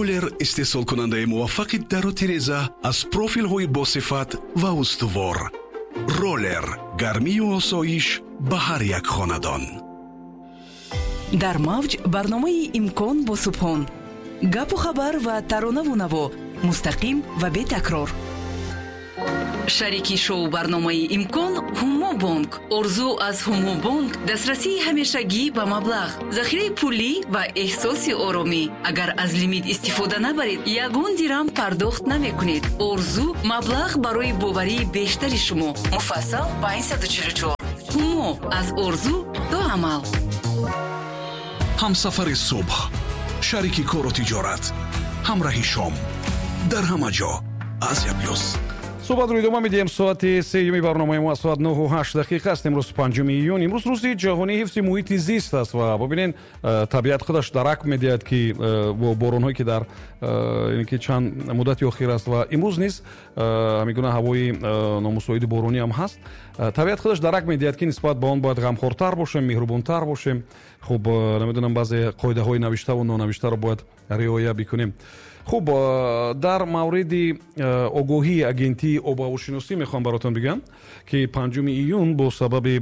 Ролер, истеҳсолкунандаи муваффақи дару тиреза аз профилҳои босифат ва устувор. Ролер, гармию осоиш ба ҳар як хонадон. Дар мавҷ барномаи «Имкон» бо Субҳон. Гапу хабар ва таронаву наво мустақим ва бетакрор. Шарики шоу барномаи «Имкон» «Ҳумо бонк». Орзу аз «Ҳумо бонк» дастрасии ҳамешагӣ ба маблағ, захираи пулӣ ва эҳсоси оромӣ. Агар аз лимит истифода набаред, ягон дирам пардохт намекунед. Орзу маблағ барои боварии бештари шумо. Муфассал 544. «Ҳумо» аз орзу то амал. Ҳамсафари субҳ, шарики кору тиҷорат, ҳамраҳи шом, дар ҳама ҷо «Азия Плюс». Суҳбатро идома медиҳем. Соати сеюми барномаи мо, соат 9:08 аст. Имрӯз 5 июн, имрӯз рӯзи ҷаҳонии ҳифзи муҳити зист аст. Ва бубинед, табиат худаш дарак медиҳад, ки бо боронҳое, ки дар ки чанд муддати охир аст ва имрӯз низ ҳамин гуна ҳавои номусоиди боронӣ ҳам ҳаст, табиат худаш дарак медиҳад, ки нисбат ба он бояд ғамхортар бошем, меҳрубонтар бошем. Хуб, намедонам, баъзе қоидаҳои навиштаву нонавиштаро бояд риоя бикунем. Хуб, дар мавриди огоҳии агентии обҳавошиносӣ мехоҳам баротон бигӯям, ки 5 июн бо сабаби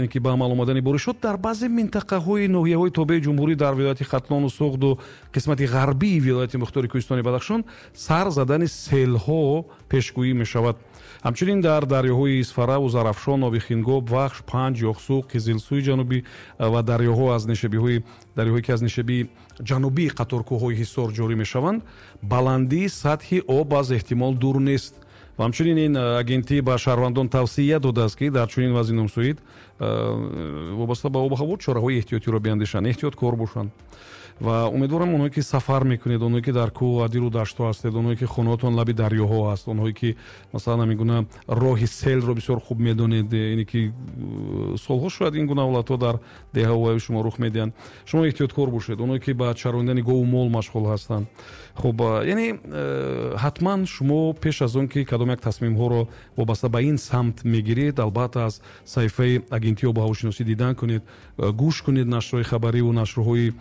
ин ки ба амал омадани боришот дар баъзе минтақаҳои ноҳияҳои тобеи ҷумҳурӣ, дар вилояти Хатлону Суғду қисмати ғарбии вилояти мухтори кӯҳистони Бадахшон сар задани селҳо пешгӯӣ мешавад. Ҳамчунин дар дарёҳои Исфараву Зарафшон, оби Хингоб, Вахш, Панҷ, Ёхсу, Қизилсӯи ҷанубӣ ва дарёҳо аз нишебиҳои дарёҳое, ки аз нишебии ҷанубии қаторкӯҳҳои Ҳисор ҷорӣ мешаванд, баландии сатҳи об аз эҳтимол дур нест. Ва ҳамчунин ин агентӣ ба шаҳрвандон тавсия додааст, ки дар чунин вазъи номусоид вобаста ба обу ҳаво чораҳои эҳтиётиро биандешанд, эҳтиёткор бошанд. Ва умедворам, онҳое ки сафар мекунед, онҳое ки дар кӯҳ, адиру даштҳо ҳастед, онҳое ки хонаҳотон лаби дарёҳо аст, онҳое ки масалан ҳамин гуна роҳи селро бисёр хуб медонед, ине ки солҳо шояд ин гуна ҳолатҳо дар деҳаҳои шумо рух медиҳанд, шумо эҳтиёткор бошед. Онҳое ки ба чарондани гову мол машғул ҳастанд, хуб, яъне ҳатман шумо пеш аз он ки кадом як тасмимҳоро вобаста ба ин самт мегиред, албатта, аз саҳифаи агентии обу ҳавошиносӣ дидан кунед, гӯш кунед нашрҳои хабариву нашрҳои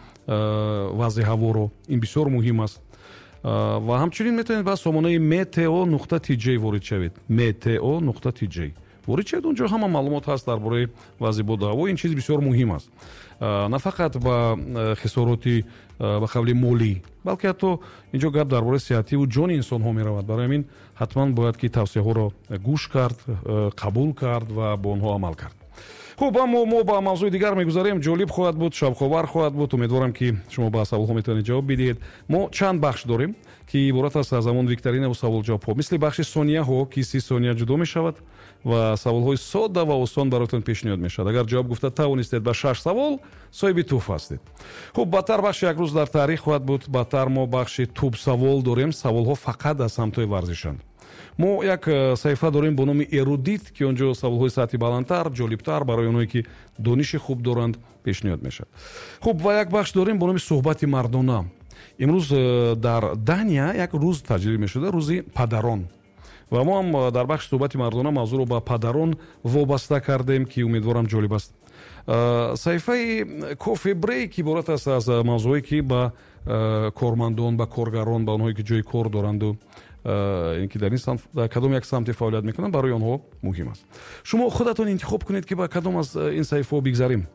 вазъи ҳаворо. Ин бисёр муҳим аст. Ва ҳамчунин метавонед ба сомонаи meteo.tj ворид шавед, meteo.tj ворид шавед. Онҷо ҳама маълумот ҳаст дар бораи вазъи боду ҳаво. Ин чиз бисёр муҳим аст, на фақат ба хисороти ба қавли молӣ, балки ҳатто инҷо гап дар бораи сиҳативу ҷони инсонҳо меравад. Барои ҳамин ҳатман бояд ки тавсияҳоро гӯш кард, қабул кард ва бо онҳо амал кард. Хуб, аммо мо ба мавзӯи дигар мегузарем. Ҷолиб хоҳад буд, шавқовар хоҳад буд. Умедворам, ки шумо ба саволҳо метавонед ҷавоб бидиҳед. Мо чанд бахш дорем, ки иборат аст аз ҳамон викторинаву саволҷавобҳо, мисли бахши сонияҳо, ки 30 сония ҷудо мешавад ва саволҳои содда ва осон бароятон пешниҳод мешавад. Агар ҷавоб гуфта тавонистед ба шаш савол, соҳиби тӯҳфа ҳастед. Хуб, баъдтар бахши «Як рӯз дар таърих» хоҳад буд. Баъдтар мо бахши «Тӯбсавол» дорем. Саволҳо фақат аз самтҳои варзишанд. Мо як саҳифа дорем бо номи «Эрудит», ки он ҷо саволҳои сатҳи баландтар, ҷолибтар барои онҳое ки дониши хуб доранд, пешниҳод мешавад. Хуб, ва як бахш дорем бо номи «Суҳбати мардона». Имрӯз дар Дания як рӯз таҷлил мешуда, рӯзи падарон, ва мо ҳам дар бахши «Суҳбати мардона» мавзӯъро ба падарон вобаста кардем, ки умедворам, ҷолиб аст. Саҳифаи «Кофе брейк» иборат аст аз мавзӯъое, ки ба кормандон, ба коргарон, ба онҳое ки ҷои кор доранду ин ки дар ин самт, дар кадом як самте фаъолият мекунанд, барои онҳо муҳим аст. Шумо худатон интихоб кунед, ки ба кадом аз ин саҳифаҳо бигзарем,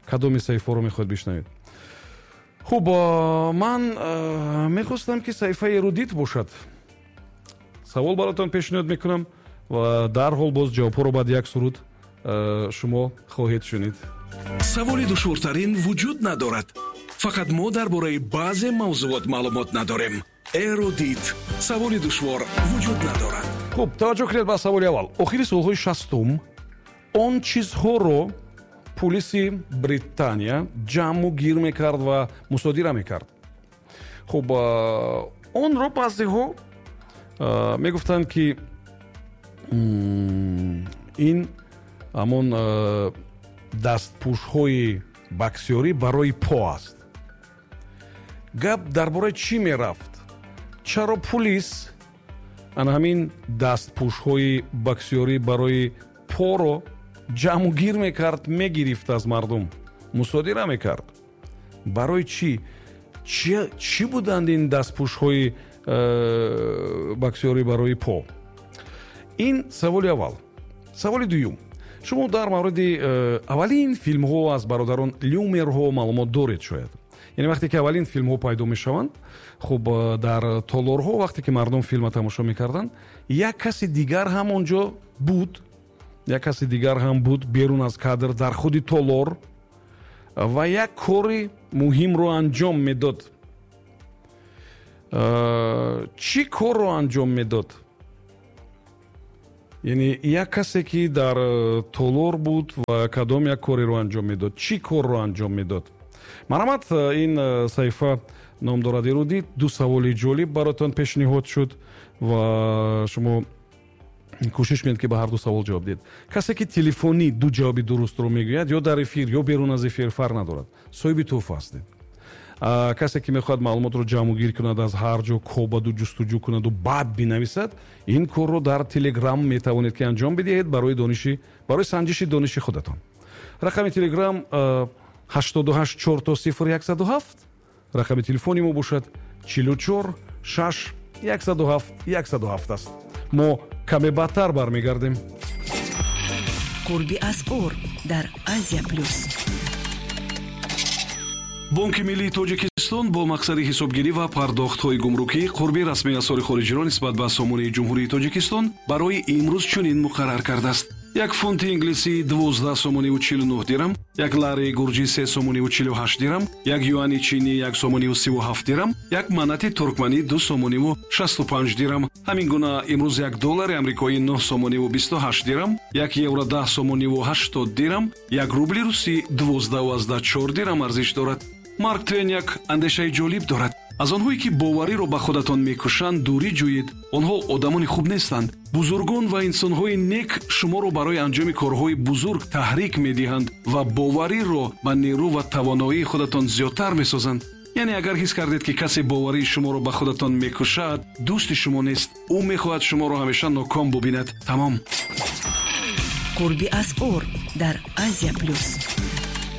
кадоми саҳифаҳоро мехоҳед бишнавед. Хуб, ман мехостам, ки саҳифаи «Эрудит» бошад. Савол баротон пешниҳод мекунам ва дарҳол боз ҷавобҳоро баъди як суруд шумо хоҳед шунид. Саволи душвортарин вуҷуд надорад, фақат мо дар бораи баъзе мавзӯот маълумот надорем. «Эрудит», саволи душвор вуҷуд надорад. Хуб, таваҷҷӯҳ кунед ба саволи аввал. Охири солҳои 60-ум он чизҳоро пулиси Британия ҷамъу гир мекард ва мусодира мекард. Хуб, онро баъзеҳо мегуфтанд, ки ин ҳамон дастпӯшҳои боксёрӣ барои по аст. Гап дар бораи чӣ мерафт? Чаро пулис ана ҳамин дастпӯшҳои боксёрӣ барои поро ҷамъу гир мекард, мегирифт, аз мардум мусодира мекард? Барои чӣ? Чӣ буданд ин дастпӯшҳои боксёрӣ барои по? Ин саволи аввал. Саволи дуюм: шумо дар мавриди аввалин филмҳо аз бародарон Люмерҳо маълумот доред шояд. Яъне вақте ки аввалин филмҳо пайдо мешаванд, хуб, дар толорҳо вақте ки мардум филма тамошо мекарданд, як каси дигар ҳам он ҷо буд, як каси дигар ҳам буд берун аз кадр, дар худи толор, ва як кори муҳимро анҷом медод. Чӣ корро анҷом медод? Яъне як касе ки дар толор буд ва кадом як кореро анҷом медод, чӣ корро анҷом медод? Марҳамат, ин саҳифа ном дорад «Эрудит». Ду саволи ҷолиб баротон пешниҳод шуд ва шумо кӯшиш кунед, ки ба ҳар ду савол ҷавоб диҳед. Касе ки телефонӣ ду ҷавоби дурустро мегӯяд, ё дар эфир, ё берун аз эфир, фарқ надорад, соҳиби тӯҳфа ҳастед. Касе ки мехоҳад маълумотро ҷамъгир кунад, аз ҳар ҷо кобаду ҷустуҷӯ кунаду баъд бинависад, ин корро дар Телеграм метавонед ки анҷом бидиҳед барои санҷиши дониши худатон. Рақами Телеграм 88 000 107, рақами телефони мо бошад 44 6 107 107 аст. Мо каме баъдтар бармегардем. Қурби асъор дар Азия Плюс. Бонки миллии Тоҷикистон бо мақсади ҳисобгирӣ ва пардохтҳои гумрукӣ қурби расмии асъори хориҷиро нисбат ба сомонии Ҷумҳурии Тоҷикистон барои имрӯз чунин муқаррар кардааст: як фунти инглисӣ 12 сомониву 49 дирам, як лари гурҷӣ 3 сомониву 48 дирам, як юани чинӣ 1 сомониву 37 дирам, як манати туркманӣ 2 сомониву 65 дирам. Ҳамин гуна имрӯз як доллари амрикоӣ 9 сомониву 28 дирам, як евро 10 сомониву 80 дирам, як рубли русӣ 12,4 дирам арзиш дорад. Марк Твен як андешаи ҷолиб дорад: аз онҳое, ки бовариро ба худатон мекушанд, дурӣ ҷӯед. Онҳо одамони хуб нестанд. Бузургон ва инсонҳои нек шуморо барои анҷоми корҳои бузург таҳрик медиҳанд ва бовариро ба нерӯ ва тавоноии худатон зиёдтар месозанд. Яъне агар ҳис кардед, ки касе боварии шуморо ба худатон мекушад, дӯсти шумо нест. Ӯ мехоҳад шуморо ҳамеша ноком бубинад. Тамом. Қурби асъор дар Азия Плюс.